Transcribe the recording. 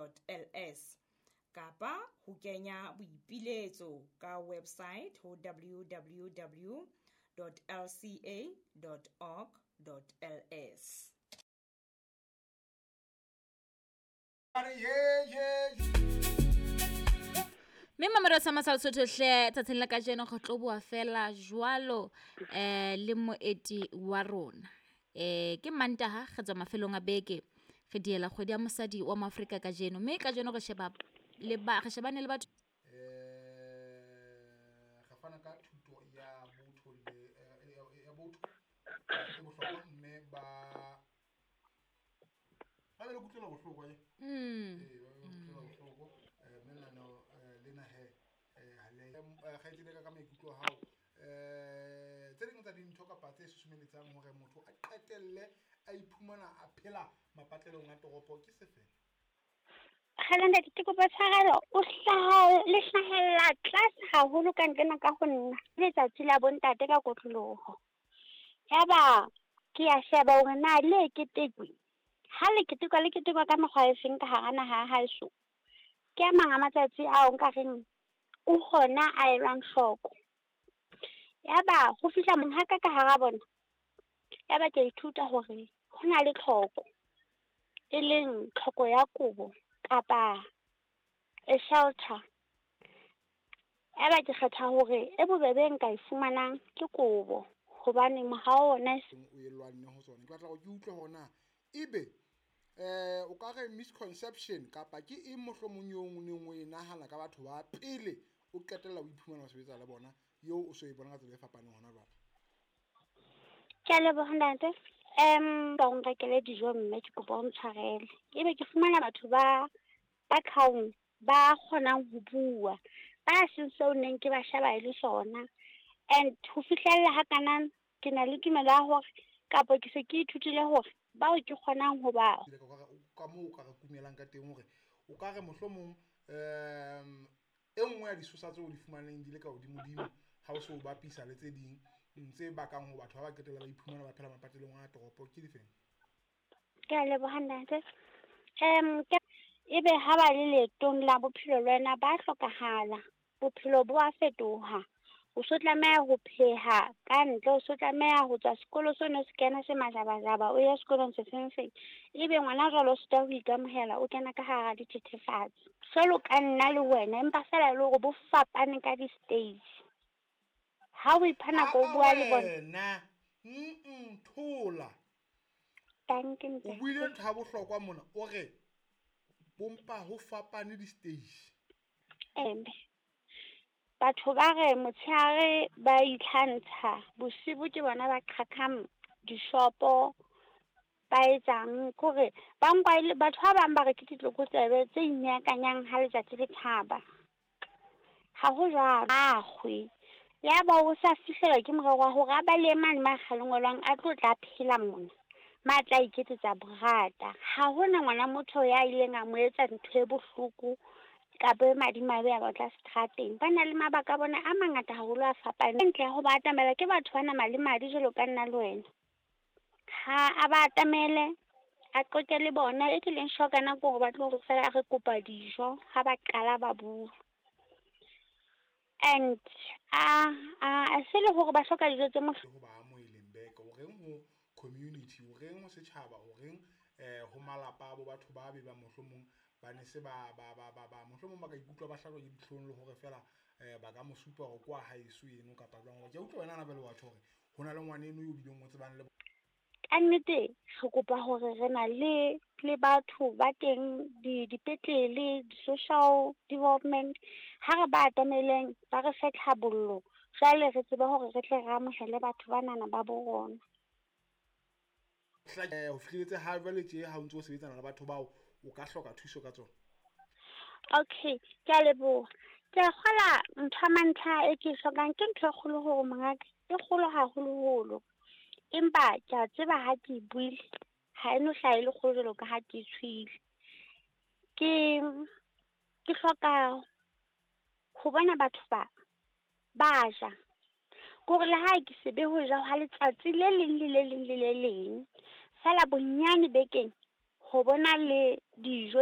org.ls kapa ho kenya boipiletso ka website ho www.lca.org.ls. Mme mamelo sa masala Sotho hle tsatsing la kajeno re tlo bua fela jwalo le moeti wa rona. Ke Mantaha re tswa mafelong a beke re diela kgwedi ya mosadi wa Moafrika kajeno, mme kajeno re sheba le ba re shebane le batho re fana ka thuto ya botho le ya botho e bohlokwa, mme ba be le kutlwelo bohloko ba be kutlwelo bohloko, mme lenaneo lena he ha le kgaitsedi ka maikutlo a hao, tse ding tsa dintho kapa tse susumeletsang hore motho a qetelle a iphumana a phela mapatlelong a toropo ke sefe? Kgale ntate, ke kopa tshwarelo, o hlaha le hlahella tlase haholo ka ntlena ka ho nna. Letsatsi la bontate ka kotloloho. Yaba ke a sheba hore na le ketekwe. Ha le ketekwa, le ketekwa ka mekgwa e feng ka hara naha ya haeso. Ke a mang a matsatsi ao nka reng o hona a elwang hloko. Yaba ho fihla monghaka ka hara bona. Yaba ke ithuta hore ho na le tlhoko, e leng tlhoko ya kobo kapa a shelter. Yaba ke kgetha hore e bobebe nka e fumanang ke kobo, hobane mohao ona o e lwanne ho tsona. Ke batla hore ke utlwe hore na ebe o ka re misconception kapa ke eng mohlomong eo o neng o e nahana ka batho ba pele o qetella o iphumana o sebetsa le bona, eo o so e bona ka tsela e fapaneng hona jwale? Ke a leboha ntate. Ba o nrekele dijo mme ke kopa o ntshwarele. Ebe ke fumana batho ba calm, ba kgonang ho bua, ba seng seo neng ke ba sheba e le sona. And ho fihlella ha kana ke na le tumelo ya hore kapa ke se ke ithutile hore bao ke kgonang ho ba ka moo o ka re kumelang ka teng hore o ka re mohlomong e nngwe ya disosa tseo o di fumaneng di le ka hodimodimo ha o se o bapisa le tse ding tse bakang ho batho ba ba qetella ba iphumana ba phela mapatlelong a toropo ke difeng? Ke a leboha ntate. Ebe ha ba le leetong la bophelo le wena ba hlokahala, bophelo bo a fetoha. O so tlameha ho pheha ka ntle, o so tlameha ho tswa sekolo seno se kena se majabajaba, o ye sekolong se feng feng. Ebe ngwana jwale o sitwa ho ikamohela, o kena ka hara dithethefatsi. Jwalo ka nna le wena, empa feela e le hore bo fapane ka di-stage. Ha o ipha nako o bua le bona. Thola. Thank you. O buile ntho ya bohlokwa mona, o re bompa ho fapane di-stage. Batho ba re motshehare ba itlhantsha, bosibu ke bona ba qhaqhang dishopo, ba etsang kore ba nkwa e le batho ba bang ba re ke ditlokotsebe tse inyakanyang ha letsatsi le tjhaba. Ha ho jwalo, a kgwe. Yaba o sa fihlelwa ke morero wa hore a balehe mane ma kgalengwelwang a tlo tla phela mona, ma tla iketsetsa borata. Ha hona ngwana motho ya ileng a mo etsa ntho e bohloko kapa e madimabe a ba tla seterateng. Ba na le mabaka a bona a mangata haholo a fapaneng. Ntle ya ho ba atamela ke batho ba nama le madi jwalo ka nna le wena. Ha a ba atamele, a qoqe le bona. E ke leng sure ka nako hore ba tlo re fela re kopa dijo ha ba qala ba bua. And a se le hore ba hloka dijo tse ho ba amoheleng beke, o reng ho community, o reng ho setjhaba, o reng ho malapa a bo batho ba be ba mohlomong ba ne se ba mohlomong ba ka ikutlwa ba hlajwa ke dihlong le hore fela ba ka mo supa hore kwa haeso eno kapa jwang. Ke a utlwa wena na jwale wa tjho hore ho na le ngwaneno eo bileng o tsebang le Ka nnete re kopa hore re na le batho ba teng dipetlele, di-social development, ha re ba atameleng ba re fe tlhabollo, jwale re tsebe hore re tle re amohele batho banana ba bo rona. Ho fihlelletse ha jwale tje ha o ntso o sebetsana le batho bao o ka hloka thuso ka tsona. Okay, ke a leboha. Ke a kgola ntho ya mantlha e ke e hlokang ke ntho e kgolo hore mongaka, e kgolo haholoholo. Empa ke a tseba ha ke e buile, ha e no hlaha e le kgolo jwalo ka ha ke e tshwile. Ke hloka ho bona batho ba ba ja. Kore le ha ke se be ho ja ha letsatsi le leng le le leng le le leng, feela bonyane bekeng ho bona le dijo.